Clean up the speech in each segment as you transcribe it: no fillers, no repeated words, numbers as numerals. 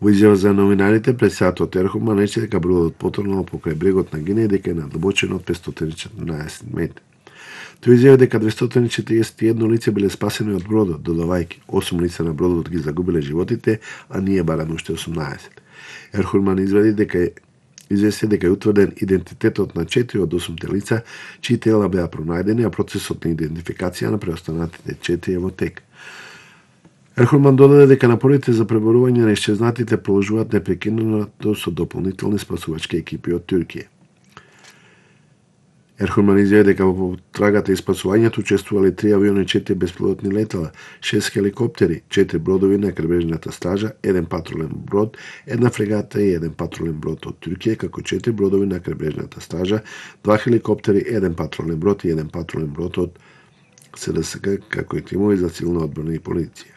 Во изјава за новинарите, председателот Ерхуман рече дека бродот потонал покрај брегот на Гинеја дека е на длабочина од 514 метри. Тој изјави дека 241 лице биле спасени од бродот, додавајќи 8 лица на бродот ги загубиле животите, а ние бараме уште 18. Ерхуман извести дека е утврден идентитетот на 4 од 8 лица, чии тела беа пронајдени, а процесот на идентификација на преостанатите 4 е во тек. Ерхуман додаде дека напорите за преборување на исчезнатите продолжуваат непрекинато со дополнителни спасувачки екипи од Туркија. Ерхуман изјави дека во трагата и спасувањето учествувале 3 авиони, 4 беспилотни летала, 6 хеликоптери, 4 бродови на крбежната стража, 1 патрулен брод, 1 фрегата и 1 патрулен брод од Туркија, како 4 бродови на крбежната стража, 2 хеликоптери, 1 патрулен брод и 1 патрулен брод од СДСК, како и тимови за цивилна одбрана и полиција.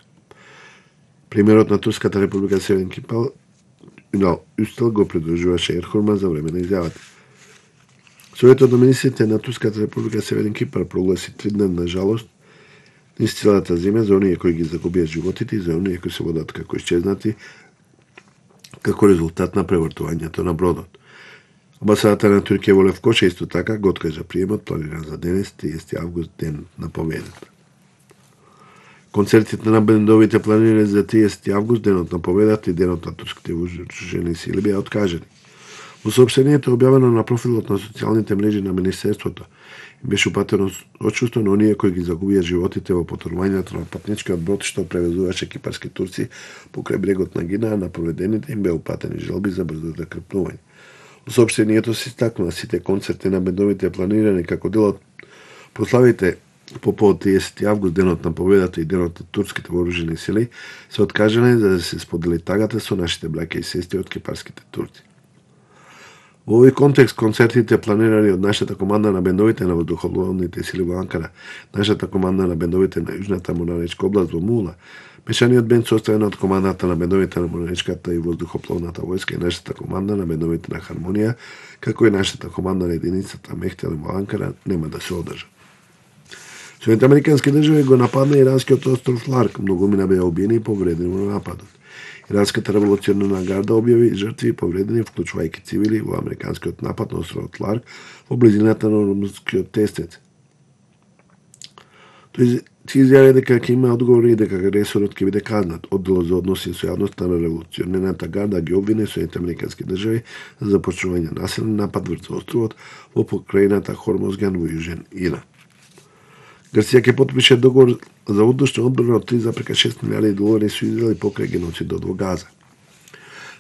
Примерот на Турската република Северен Кипар на Устел го придружуваше Ерхуман за време на изјавата. Советот на министрите на Турската република Северен Кипар прогласи 3-дневна жалост низ целата земја за оние кои ги загубија животите и за оние кои се водат како исчезнати како резултат на превртувањето на бродот. Амбасадата на Туркија во Левкоша исто така го откажа приемот планиран за денес, 30 август, ден на победата. Концертите на бендовите планирани за 30 август, денот на победата и денот на турските вооружени сили беа откажани. Во соопштението објавено на профилот на социјалните мрежи на Министерството беше упатено отсуство на оние кои ги загубија животите во потонувањето на патничкиот брод што превезуваше кипарски турци покрај брегот на Гинеја, на повредените им беа упатени желби за брзо закрпнување. Во соопштението се истакнува сите концерти на бендовите планирани како дел од прославите по повод 30 август, денот на победата и денот на турските вооружени сили, се откажани за да се сподели тагата со нашите браќа и сестри од кипарските турци. Во овој контекст, концертите планирани од нашата команда на бендовите на воздухопловните сили во Анкара, нашата команда на бендовите на Јужната Моранечка област во Мула, мешаниот бенд составен од командата на бендовите на Моранечката и воздухопловната војска и нашата команда на бендовите на Хармонија, како и нашата команда на единицата Мехтел во Анкара, нема да се одржат. Соединените американски држави го нападна иранскиот остров Ларк, многумина беа убиени и повредени во нападот. Иранската револуционарна гарда објави жртви и повредени, вклучувајќи цивили, во американскиот напад на островот Ларк во близината на Ормузскиот тестец. Тој изјави дека ќе има одговори и дека агресорот ќе биде казнат. Одделот за односи со јавноста на револуционарната гарда ги обвини Соединените американски држави за започнување насилен напад врз островот во покрајината Хормозган во Јужен Иран. Грција ќе потпише договор за воздушна одбрана од 3,6 милиарди долари со Израел покрај геноцидот во Газа.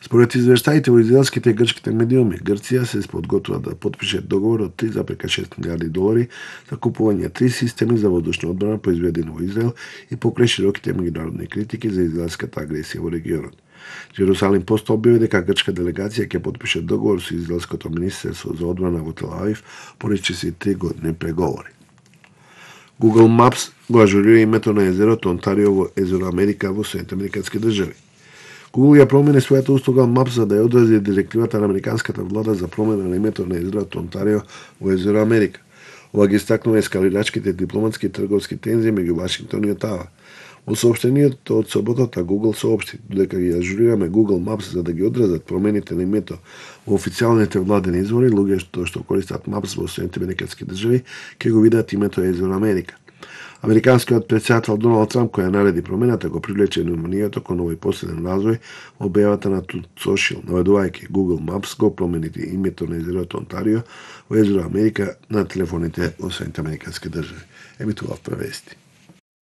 Според извештаите во израелските и грчките медиуми, Грција се подготвува да потпише договор од 3,6 милиарди долари за купување 3 системи за воздушна одбрана произведени во Израел и покрај широките меѓународни критики за израелската агресија во регионот. Жерусалим Пост објави дека грчка делегација ќе потпише договор со израелското министерство за одбрана во Тел Авив поречи се 3 години преговори. Google Maps го ажурира името на езерото Онтарио во езеро Америка во Соединените американски држави. Google ја промени својата услуга Maps за да ја одрази директивата на американската влада за промена на името на езерото Онтарио во езеро Америка. Ова ги истакнува ескалирачките дипломатски и трговски тензии меѓу Вашингтон и Отава. Во соопштението од соботата Google соопшти дека ги ажурираме Google Maps за да ги одразат промените на името во официјалните владени извори, луѓето што користат Maps во Соединените американски држави ќе го видат името езеро Америка. Американскиот претседател Доналд Трамп, која нареди промената, го привлече вниманието кон овој последен развој во објавата на Truth Social, наведувајќи Google Maps го промените името на езерото Онтарио во езеро Америка на телефоните во Соединените американски држави. Емитував превести.